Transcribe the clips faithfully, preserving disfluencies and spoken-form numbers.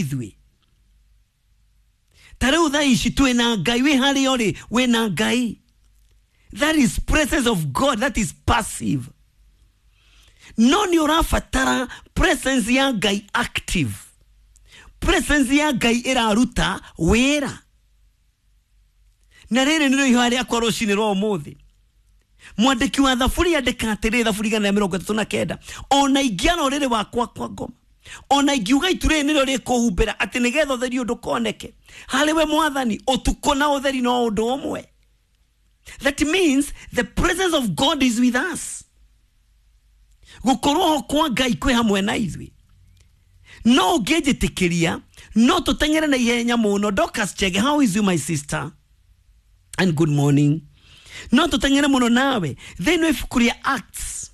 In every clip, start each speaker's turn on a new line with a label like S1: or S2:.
S1: ithuĩ. Ta rĩu thaa ici twĩna Ngai, wĩ harĩa ũrĩ wĩna Ngai. That is presence of God, that is passive. No nĩ ũrabatara presence ya Ngai active, presence ya Ngai ĩraruta wĩra. Na rĩrĩ nĩrĩo ihoya rĩakwa rũcinĩ rwa ũmũthĩ. Mwandĩki wa thaburi andĩka atĩrĩ, thaburi igana rĩa mĩrongo ĩtatũ na kenda, ona ingĩara ũrĩrĩ wakwa kwa ngoma, ona ingiuga itu rĩrĩ nĩrĩo rĩkũhumbĩra atĩ nĩgetha ũtheri ndũkoneke, harĩ we Mwathani ũtukũ na ũtheri no ũndũ ũmwe. That means the presence of God is with us. Gũkorwo ho kwa Ngai kwĩ hamwe na ithuĩ. No ũngĩnjĩtĩkĩria no tũteng'ere na ihenya mũno. Dorcas Chege, how is you my sister, and good morning. No tũteng'ere mũno nawe thĩinĩ wa ibuku rĩa Acts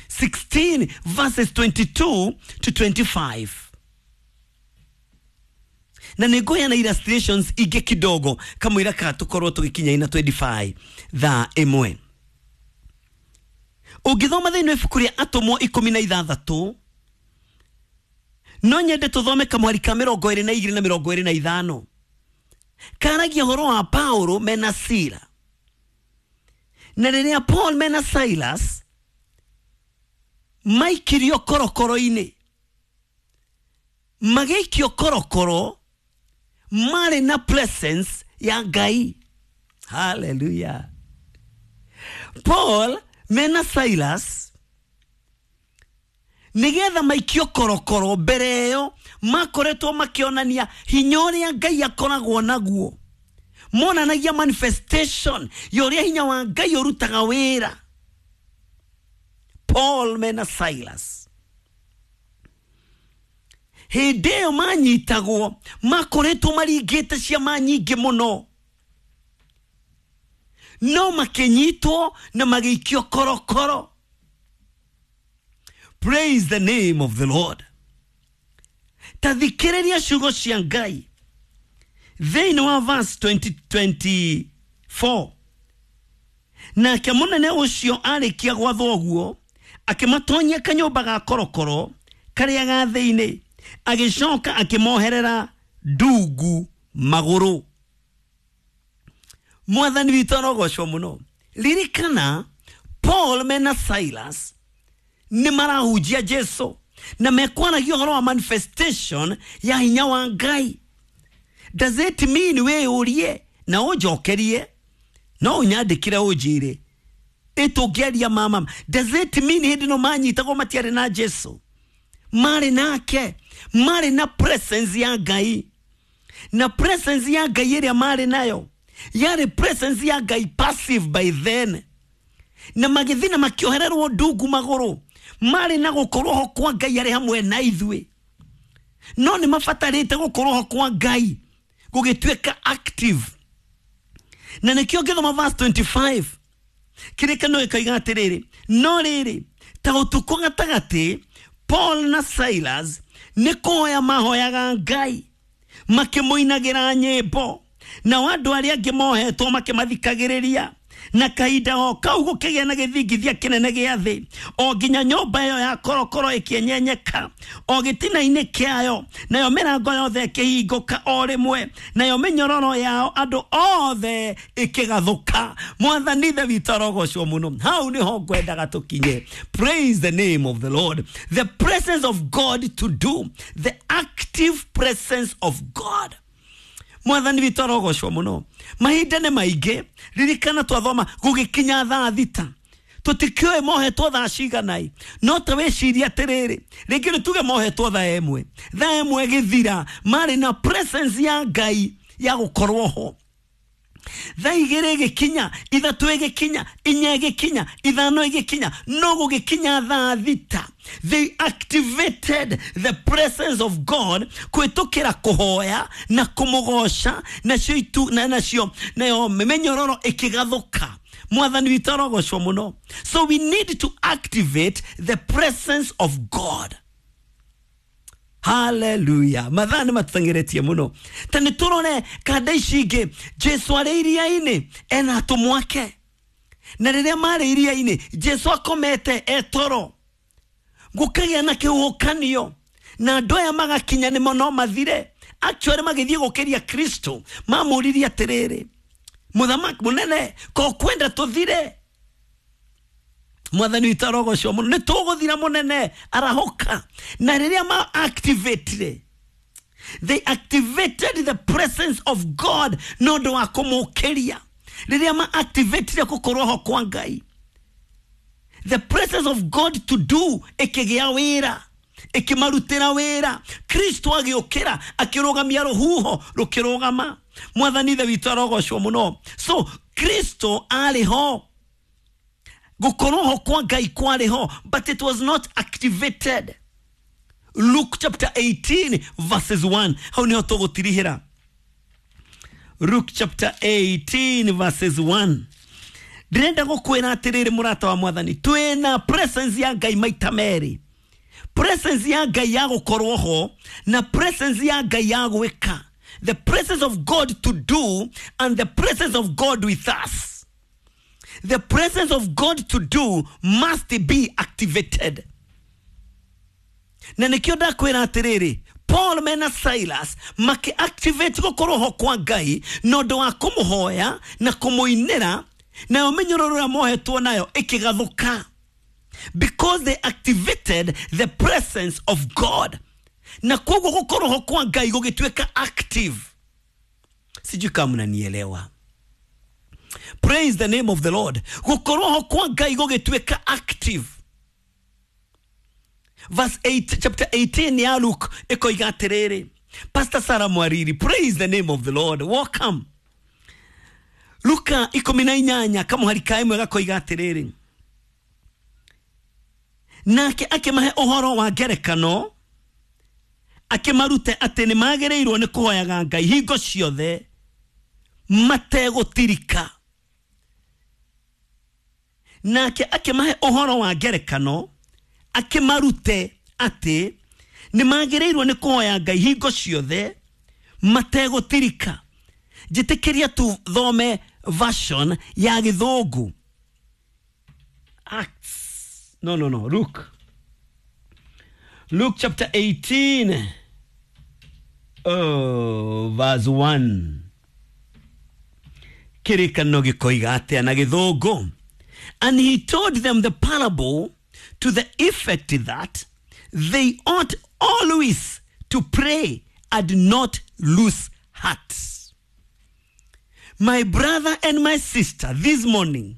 S1: sixteen verses twenty-two to twenty-five, na nĩ ngũheana illustrations ingĩ kidogo kamũira ka tũkorwo tũgĩkinya ina twenty-five thaa ĩmwe. Ũngĩthoma thĩinĩ wa ibuku rĩa Atũmwo ikũmi na ithathatũ, no nyende tũthome kamwari ka mĩrongo ĩrĩ na igĩrĩ na mĩrongo ĩrĩ na ithano, karagia ũhoro wa Paulo mena Sila. Na rĩrĩa Paul mena Silas maikirio korokoro-inĩ, magĩikio korokoro, marĩ na presence ya Ngai. Hallelujah. Paul mena Silas nigetha maikio korokoro, mbere ĩyo makoretwo makĩonania hinya ũrĩa Ngai akoragwo naguo, monanagia manifestation ya ũrĩa hinya wa Ngai ũrutaga wĩra. Paul mena Silas hĩndĩ ĩyo manyitagwo makoretwo maringĩte ciama nyingĩ mũno, no makĩnyitwo na magĩikio korokoro. Praise the name of the Lord. Ta thikĩrĩria ciugo cia Ngai thĩinĩ wa verse twenty twenty-four. Nake mũnene ũcio arĩkia gwathwo ũguo, akĩmatonyia kanyũmba ga korokoro karĩa ga thĩinĩ, agĩcoka akĩmoherera ndungu magũrũ. Mwathani witũ arogocwo mũno. Ririkana Paul mena Silas nĩ marahunjia Jesu na mekwaragia ũhoro wa manifestation ya hinya wa Ngai. Does it mean wĩyũrie na ũnjokerie, no ũnyandĩkĩre ũnjĩre ĩtũngĩaria mama? Does it mean hĩndĩ ĩno manyitagwo matiarĩ na Jesu? Marĩ nake, marĩ na presence ya Ngai, na presence ya Ngai ĩrĩa marĩ nayo yarĩ presence ya Ngai passive by then, na magĩthiĩ na makĩohererwo ndungu magũrũ, marĩ na gũkorwo ho kwa Ngai arĩ hamwe na ithuĩ. No nĩ mabatarĩte gũkorwo ho kwa Ngai gũgĩtuĩka active. Na nĩkĩo ngĩthoma verse twenty-five kĩrĩkanĩro gĩkoiga atĩrĩrĩ, no rĩrĩ ta ũtukũ gatagatĩ Paul na Silas nĩ kũhoya mahoyaga Ngai makĩmũinagĩra nyĩmbo, nao andũ arĩa angĩ mohetwo makĩmathikagĩrĩria. Na kahinda o kau gũkĩgĩa na gĩthingithia kĩnene gĩa thĩ, o nginya nyũmba ĩyo ya korokoro ĩkĩenyenyeka o gĩtina-inĩ kĩayo, nayo mĩrango yothe ĩkĩhingũka o rĩmwe, nayo mĩnyororo yao andũ othe ĩkĩgathũka. Mwathani Ithe witũ arogocwo mũno. Hau nĩho ngwendaga tũkinye. Praise the name of the Lord. The presence of God to do, the active presence of God. Mwathani witũ arogocwo mũno. Mahinda nĩ maingĩ, ririkana twathoma gũgĩkinya thaa thita, tũtikĩũĩ mohetwo thaa cigana, no ta wĩcirie atĩrĩrĩ, rĩngĩ nĩ tuge mohetwo thaa ĩmwe, thaa ĩmwe ĩgĩthira, marĩ na presence ya Ngai ya gũkorwo ho. Thaa igĩrĩ ĩgĩkinya, ithatũ ĩgĩkinya, inya ĩgĩkinya, ithano ĩgĩkinya, no gũgĩkinya thaa thita, they activated the presence of God kũhĩtũkĩra kũhoya na kũmũgoca, nacio itu na nacio nayo mĩnyororo ĩkĩgathũka. Mwathani witũ arogocwo mũno. So we need to activate the presence of God. Hallelujah. Mathaa nĩ matũteng'eretie mũno. Ta nĩ tũrore kanda ici ingĩ. Jesu arĩ iria-inĩ ena atũmwo ake, na rĩrĩa marĩ iria-inĩ Jesu akomete etoro, gũkagĩa na kĩhuhũkanio, Na andũ aya magakinya nĩmo no mathire. Actually magĩthiĩ gũkĩria Kristo, mamũririe atĩrĩrĩ, mũthamaki mũnene, ko kwenda tũthire? Mwathani witũ arogocwo mũno, nĩ tũgũthira mũnene, arahũka. Na rĩrĩa ma activate, they activated the presence of God na ũndũ wa kũmũkĩria. Rĩrĩa ma activatire gũkorwo ho kwa Ngai, the presence of God to do ĩkĩgĩa wĩra, ĩkĩmarutĩra wĩra. Kristo agĩũkĩra, akĩrũgamia rũhuho, rũkĩrũgama. Mwathani ithe witũ arogocwo mũno. So Kristo arĩ ho, gũkorwo ho kwa Ngai kwarĩ ho, but it was not activated. Luke chapter eighteen verses one, hau niho tũgũtirihĩra. Luke chapter eighteen verses one. Ndĩrenda gũkwĩra atĩrĩrĩ, mũrata wa mwathani, twĩna presence ya Ngai maita merĩ. Presence ya Ngai ya gũkorwo ho na presence ya Ngai ya gwĩka. The presence of God to do and the presence of God with us. The presence of God to do must be activated. Na nĩkĩo ndakwĩra atĩrĩrĩ, Paul mena Silas makĩ-activate gũkorwo ho kwa Ngai na ũndũ wa kũmũhoya na kũmũinĩra, nayo mĩnyororo ĩrĩa mohetwo nayo ĩkĩgathũka, because they activated the presence of God. Na koguo gũkorwo ho kwa Ngai gũgĩtuĩka active. Sijui kama mnanielewa. Praise the name of the Lord. Gũkorwo ho kwa Ngai gũgĩtuĩka active. Verse eight, chapter eighteen ya Luke ĩkoiga atĩrĩrĩ. Pastor Sarah Mwariri, praise the name of the Lord. Welcome. Luka ikũmi na inyanya kamũhari ka ĩmwe gakoiga atĩrĩrĩ, nake akĩmahe ũhoro wa ngerekano, akĩmarute atĩ nĩ magĩrĩirwo nĩ kũhoyaga Ngai hingo ciothe mategũtirika. Nake akĩmahe ũhoro wa ngerekano, akĩmarute atĩ nĩ magĩrĩirwo nĩ kũhoya Ngai hingo ciothe mategũtirika. Njĩtĩkĩria tuthome version ya Gĩthũngũ. Acts. No, no, no. Luke. Luke chapter eighteen. Oh, verse one. Kĩrĩkanĩro gĩkoiga atĩa na Gĩthũngũ? And he told them the parable to the effect that they ought always to pray and not lose heart. My brother and my sister, this morning,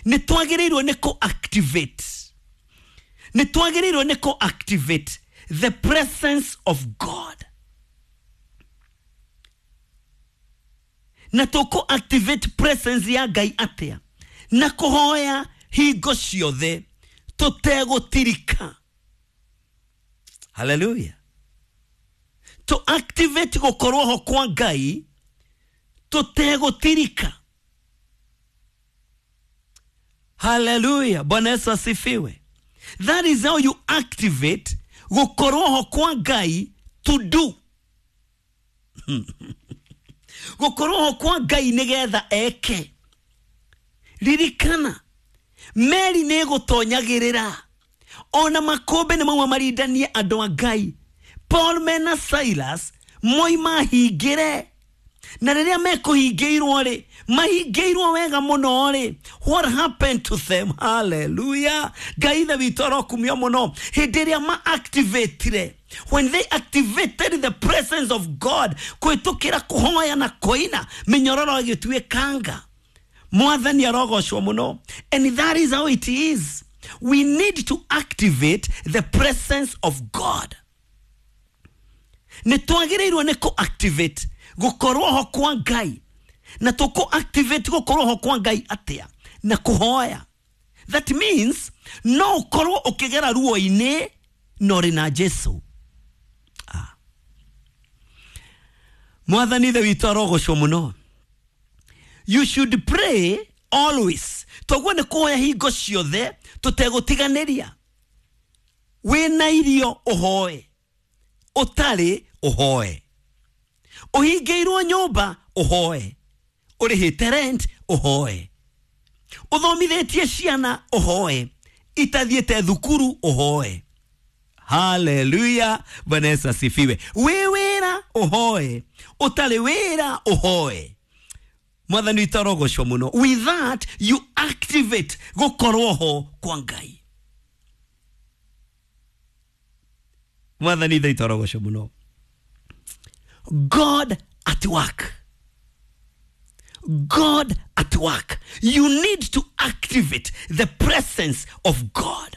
S1: nĩ twagĩrĩirwo nĩ kũ-activate. Nĩ twagĩrĩirwo nĩ kũ-activate the presence of God. Na tũkũ-activate presence ya Ngai atĩa? Na kũhoya hingo ciothe tũtegũtirika. Hallelujah. To activate gũkorwo ho kwa Ngai tũtegũtirika. Hallelujah. Bwana Yesu asifiwe. That is how you activate gũkorwo ho kwa Ngai to do. Gũkorwo ho kwa Ngai nĩgetha eke. Ririkana, meri nĩ ĩgũtonyagĩrĩra, ona makũmbĩ nĩ mauma marindanie andũ a Ngai. Paul mena Silas moima hingĩre, na rĩrĩa mekũhingĩirwo rĩ, mahingĩirwo wega mũno rĩ, what happened to them? Hallelujah. Ngai ithe witũ arokumio mũno. Hĩndĩ ĩrĩa ma-activatire, when they activated the presence of God, kũhĩtũkĩra kũhoya na kũina, mĩnyororo ĩgĩtuĩkanga. Mwathani arogocwo mũno. And that is how it is. We need to activate the presence of God. Nĩ twagĩrĩirwo nĩ kũ-activate gũkorwo ho kwa Ngai. Na tũkũ-activate gũkorwo ho kwa Ngai atĩa? Na kũhoya. That means no ũkorwo ũkĩgera ruo-inĩ na ũrĩ na Jesu. Ah. Mwathani ithe witũ arogocwo mũno. You should pray always. Toguo nĩ kũhoya hingo ciothe tũtegũtiganĩria. Wĩna irio ũhoe, ũtarĩ ũhoe, ũhingĩirwo nyũmba ũhoe, ũrĩhĩte rent ũhoe, ũthomithĩtie ciana ũhoe, itathiĩte thukuru ũhoe. Haleluya, Bwana Yesu asifiwe. Wĩ wĩra ũhoe, ũtarĩ wĩra ũhoe. Mwathani witũ arogocwo mũno. With that you activate gũkorwo ho kwa Ngai. Mwathani witũ arogocwo mũno. God at work. God at work. You need to activate the presence of God.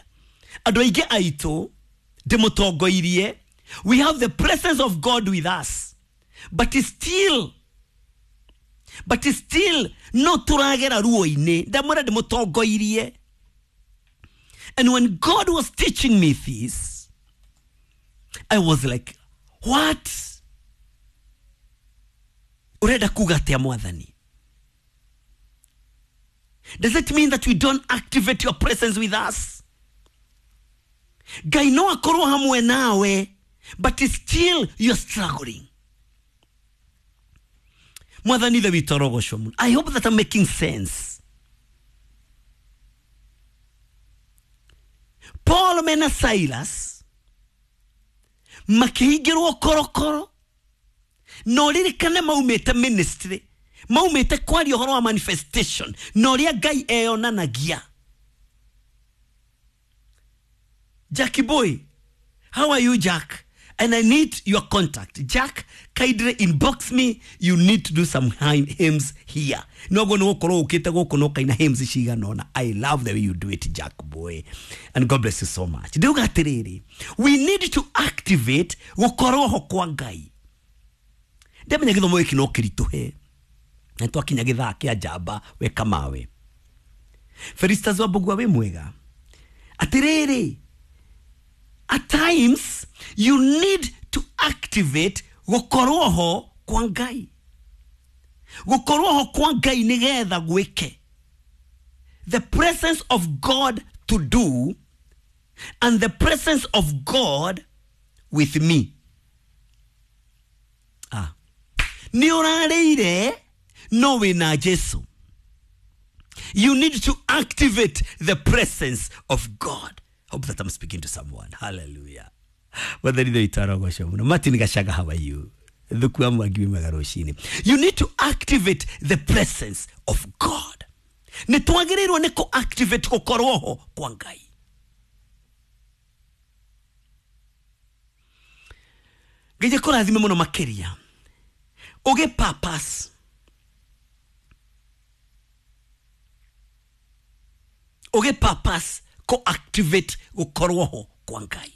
S1: Andũ aingĩ aitũ ndĩmũtongoirie, we have the presence of God with us, but still, but still no tũragera ruo-inĩ. Ndamwĩra ndĩmũtongoirie. And when God was teaching me this, I was like, what? Urenda kuga atĩa Mwathani? Does it mean that we don't activate your presence with us? Ngai no akorwo hamwe nawe, but still you're struggling. Mwathani ithe witũ arogocwo mũno. I hope that I'm making sense. Paul mena Silas makĩhingĩrwo korokoro, na ũririkane maumĩte ministry, maumĩte kwaria ũhoro wa manifestation na ũrĩa Ngai eyonanagia. Jackie boy, how are you, Jack? And I need your contact. Jack, kindly inbox me. You need to do some hymns here. No go no koro ukite go kono kaina hymns cigana ona. I love the way you do it, Jack boy. And God bless you so much. Ndauga atiriri, we need to activate gukorwo ho kwa Ngai. Ndamenya githomo giki no kirituhe. Na twakinya githaa kia njamba we kamawe. Felistas wa Mbugua wi mwega. Atiriri, at times you need to activate gukorwo ho kwa Ngai. Gukorwo ho kwa Ngai nigetha gwike. The presence of God to do and the presence of God with me. Ah. Ni urarĩire no wĩna Jesu. You need to activate the presence of God. Hope that I'm speaking to someone. Hallelujah. Martin Gashaga, how are you? You need to activate the presence of God. Nĩ twagĩrĩirwo nĩ kũ activate gũkorwo ho kwa Ngai. Ngai akũrathime mũno makĩria. Ũgĩ purpose. Ũgĩ purpose kũ activate gũkorwo ho kwa Ngai.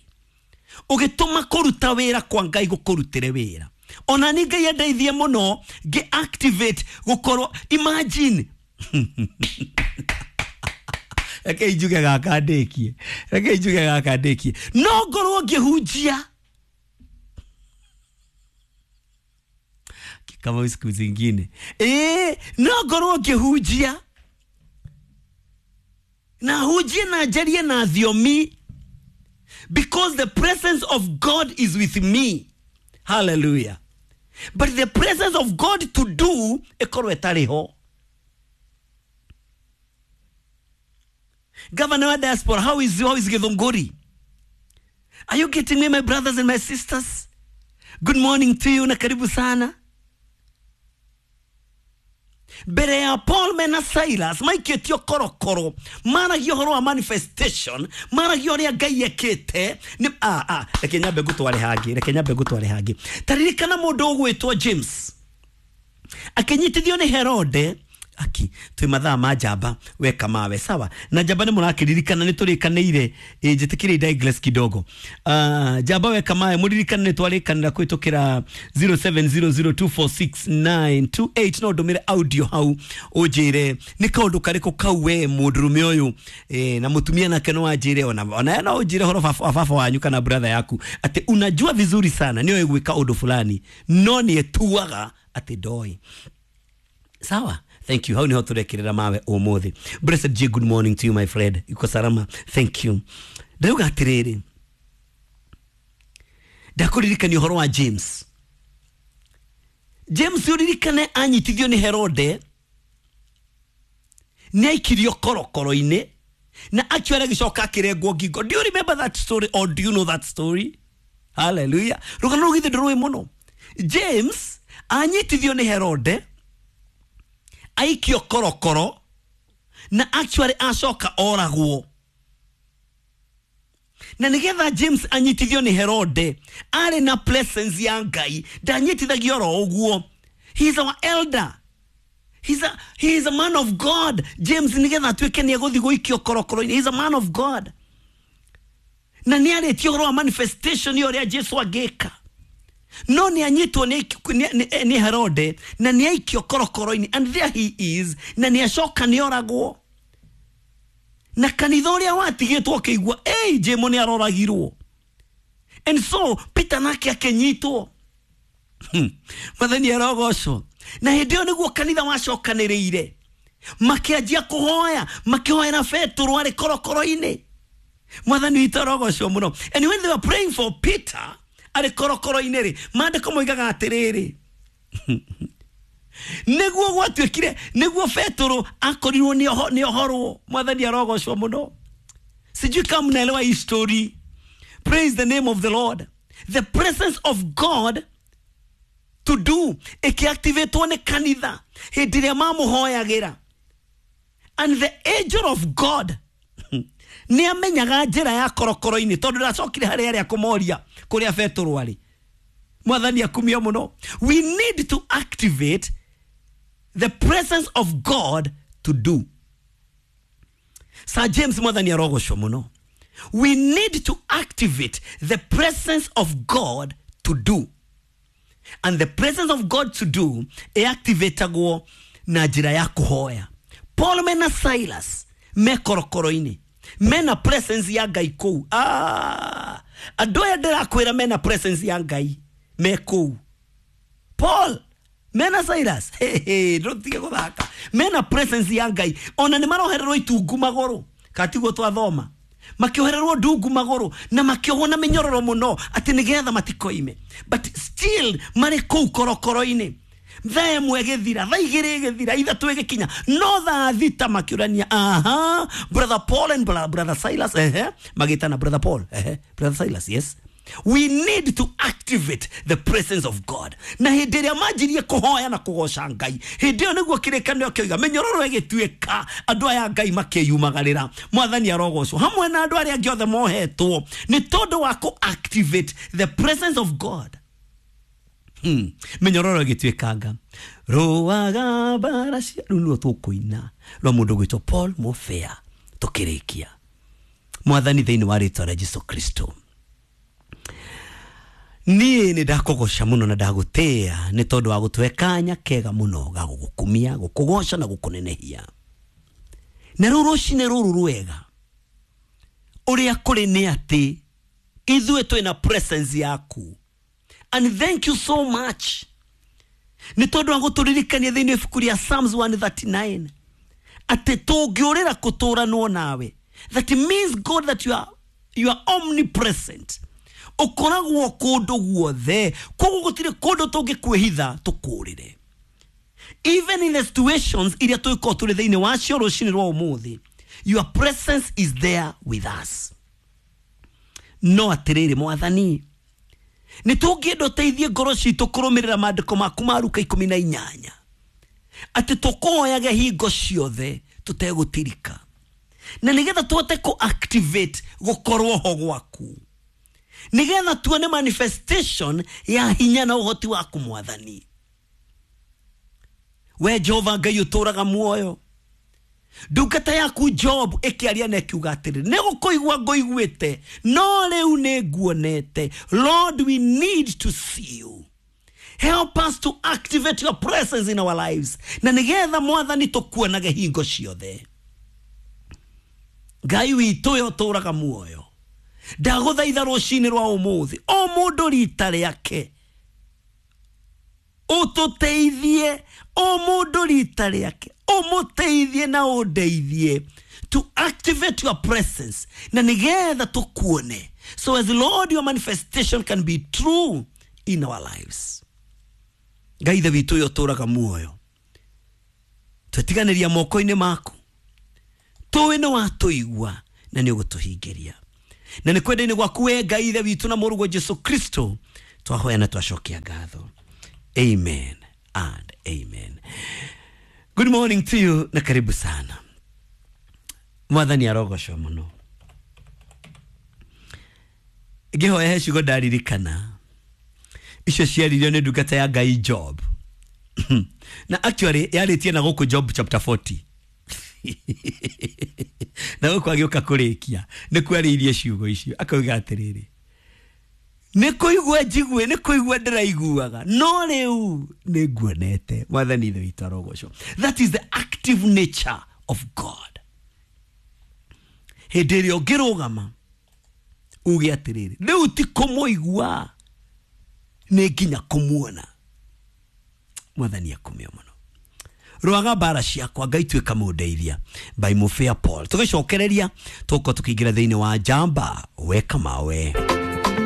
S1: Ũgĩtũma kũruta wĩra kwa Ngai gũkũrutĩre wĩra. Ona ni Ngai andeithie mũno ngĩ activate gũkorwo. Imagine. Reke njuge gaka ndĩkie. Reke njuge gaka ndĩkie. No ngorwo ngĩhunjia kama siku zingine. Eh, no ngorwo ngĩhunjia na hujie na njarie na thiomi, because the presence of God is with me. Hallelujah. But the presence of God to do ekorwo ĩtarĩ ho. Governor wa diaspora, how is how is Githunguri? Are you getting me, my brothers and my sisters? Good morning to you na karibu sana. Mbere ya Paul mena Silas maikĩtio korokoro, maragia ũhoro wa manifestation, maragia ũrĩa Ngai ekĩte. Nĩ ah ah reke nyambe ngũtware hangĩ, reke nyambe ngũtware hangĩ. Ta ririkana mũndũ ũgwĩtwo James akĩnyitithio nĩ Herode. Aki twĩ mathaa ma njamba we kamawe sawa na njamba nĩ mũrakĩririkana nĩ tũrĩkanĩire njĩtĩkĩre digress kidogo. Uh, njamba we kamawe mũririkane nĩ twarĩkanĩra kũhĩtũkĩra zero seven zero zero two four six nine two eight no ndũmĩre audio hau ũnjĩre nĩ kaũndũ karĩkũ kau we mũndũrũme ũyũ eh, na mũtumia nake no anjĩre ona ona no ũnjĩre horo baba wanyu kana brother yaku atĩ unajua vizuri sana nĩoĩ gwĩka ũndũ fulani no nĩetuaga atĩ ndoĩ. Sawa. Thank you. Hau niho turekirira mawe umuthi. Blessed G, good morning to you, my friend. Iko salama. Thank you. Ndauga atiriri, ndakuririkania ũhoro wa James. James uririkane anyitithio nĩ Herode, nĩ aikirio korokoro-inĩ Na actually agĩcoka akĩrengwo ngingo. Do you remember that story or do you know that story? Hallelujah. Rũgano rũu githĩ ndũrũĩ mũno. James anyitithio nĩ Herode, aikio korokoro, na actually acoka oragwo. Na nigetha James anyitithio nĩ Herode, arĩ na presence ya Ngai, ndanyitithagio oro ũguo. He is our elder. He's a, he is a man of God. James nigetha atuĩke nĩ egũthiĩ gũikio korokoro-inĩ. He is a man of God. Na nĩ arĩtie ũhoro wa manifestation ya ũrĩa Jesu angĩka. No nĩ anyitwo nĩ, nĩ, nĩ Herode na nĩ aikio korokoro-inĩ, and there he is, na nĩ acoka nĩ oragwo. Na kanitha ũrĩa watigĩtwo ũkĩigua, ei, Jemo nĩ aroragirwo. And so Peter nake akĩnyitwo. Mwathani arogocwo. Na hĩndĩ ĩyo nĩguo kanitha wacokanĩrĩire, makĩanjia kũhoya, makĩhoera Petero arĩ korokoro-inĩ. Mwathani witũ arogocwo mũno. And when they were praying for Peter arĩ korokoro-inĩ rĩ, maandĩko moigaga atĩrĩrĩ, nĩguo gwatuĩkire, nĩguo Petero akorirwo nĩ ohorwo. Mwathani arogocwo mũno. Sijui kama mnaelewa hii story. Praise the name of the Lord. The presence of God to do ikiactivatwo nĩ kanitha hĩndĩ ĩrĩa mamũhoyagĩra. And the angel of God nĩ amenyaga njĩra ya korokoro-inĩ, tondũ ndacokire harĩa arĩa kũmoria kũrĩa Petero arĩ. Mwathani akumio mũno. We need to activate the presence of God to do. Sir James, mwathani arogocwo mũno. We need to activate the presence of God to do. And the presence of God to do ĩactivatagwo na njĩra ya kũhoya. Paul mena Silas me korokoro-inĩ, mena presence ya Ngai kũu. Ah, andũ aya ndĩrakwĩra mena presence ya Ngai me kũu. Paul mena Silas, hey, hey, ndũtige gũthaka, mena presence ya Ngai. Ona nĩ marohererwo itungu magũrũ, katiguo twathoma, makĩohererwo ndungu magũrũ na makĩohwo na mĩnyororo mũno atĩ nĩgetha matikoime, but still marĩ kũu korokoro-inĩ. Thaa ĩmwe ĩgĩthira, thaa igĩrĩ ĩgĩthira, ithatũ ĩgĩkinya, no thaa thita makĩũrania, aha, brother Paul and brother Silas, ehe, magĩtana brother Paul, ehe, brother Silas, yes. We need to activate the presence of God. Na hĩndĩ ĩrĩa manjirie kũhoya na kũgoca Ngai, hĩndĩ ĩyo nĩguo kĩrĩkanĩro kĩoiga mĩnyororo ĩgĩtuĩka, andũ aya Ngai makĩyumagarĩra. Mwathani arogocwo hamwe na andũ arĩa angĩ othe mohetwo nĩ tondũ wa kũ activate the presence of God. Hmm. Mĩnyororo ĩgĩtuĩkanga. Rũaga mbara cia rũu nĩruo tũkũina rwa mũndũ gwĩtwo Paul Mofea tũkĩrĩkia. Mwathani, thĩinĩ wa rĩtwa rĩa Jesu Kristo, niĩ nĩ ndakũgoca mũno na ndagũtĩĩa nĩ tondũ wa gũtũhe kanya kega mũno ga gũgũkumia, gũkũgoca na gũkũnenehia. Na rĩu rũcinĩ rũrũ rwega, ũrĩa kũrĩ nĩ atĩ ithuĩ twĩna presence yaku. And thank you so much nĩ tondũ wa gũtũririkania thĩinĩ wa ibuku rĩa Psalms one thirty-nine atĩ tũngĩũrĩra kũtũranwo nawe. That means, God, that you are, you are omnipresent. Ũkoragwo kũndũ guothe, koguo gũtirĩ kũndũ tũngĩkwĩhitha tũkũrĩre. Even in the situations iria tũgĩkorwo tũrĩ thĩinĩ wacio rũcinĩ rwa ũmũthĩ, your presence is there with us. No atĩrĩrĩ Mwathani, nĩ tũngĩenda ũteithie ngoro citũ kũrũmĩrĩra maandĩko maku ma Luka ikũmi na inyanya, atĩ tũkũhoyage hingo ciothe tũtegũtirika, na nĩgetha tũhote kũ activate gũkorwo ho gwaku, nĩgetha tuone manifestation ya hinya na ũhoti waku Mwathani. We Jehova Ngai ũtũũraga muoyo, ndungata yaku Job ĩkĩaria na ĩkiuga atĩrĩ, nĩ gũkũigua ngũiguĩte, no rĩu nĩ nguonete. Lord, we need to see you. Help us to activate your presence in our lives, na nĩgetha Mwathani tũkuonage hingo ciothe. Ngai witũ we ũtũũraga muoyo, ndagũthaitha rũcinĩ rwa ũmũthĩ, o mũndũ rita rĩake ũtũteithie, o mũndũ rita rĩake ũmũteithie na ũndeithie to activate your presence, na nĩgetha tũkuone, so as Lord your manifestation can be true in our lives. Ngai ithe witũ ũyũ ũtũũraga muoyo, twetiganĩria moko-inĩ maku, Tũĩ nĩ watũigua na nĩ ũgũtũhingĩria. Na nĩ kwenda-inĩ gwaku we Ngai Ithe witũ na Mũrũguo Jesu Kristo twahoya na twacokia ngatho. Amen and amen. Good morning to you na karibu sana. Mwathani arogocwo mũno. Ngĩhoya he ciugo ndaririkana icio ciaririo nĩ ndungata ya Ngai Job. Na actually yarĩtie na gũkũ Job chapter forty. Na gũkũ agĩũka kũrĩkia nĩ kwarĩirie ciugo icio akauga atĩrĩrĩ, nĩ kũigua njigue, nĩ kũigua ndĩraiguaga, no rĩu nĩ nguonete. Mwathani Ithe witũ arogocwo. That is the active nature of God. Hĩndĩ ĩrĩa ũngĩrũgama uge atĩrĩrĩ, rĩu ti kũmũigua, nĩ nginya kũmuona. Mwathani akumio mũno. Rwaga mbara ciakwa Ngai tuĩka mũndeithia by Mufia Paul. Tũgĩcokereria tũgũkorwo tũkĩingĩra thĩinĩ wa Njamba Weka Mawe.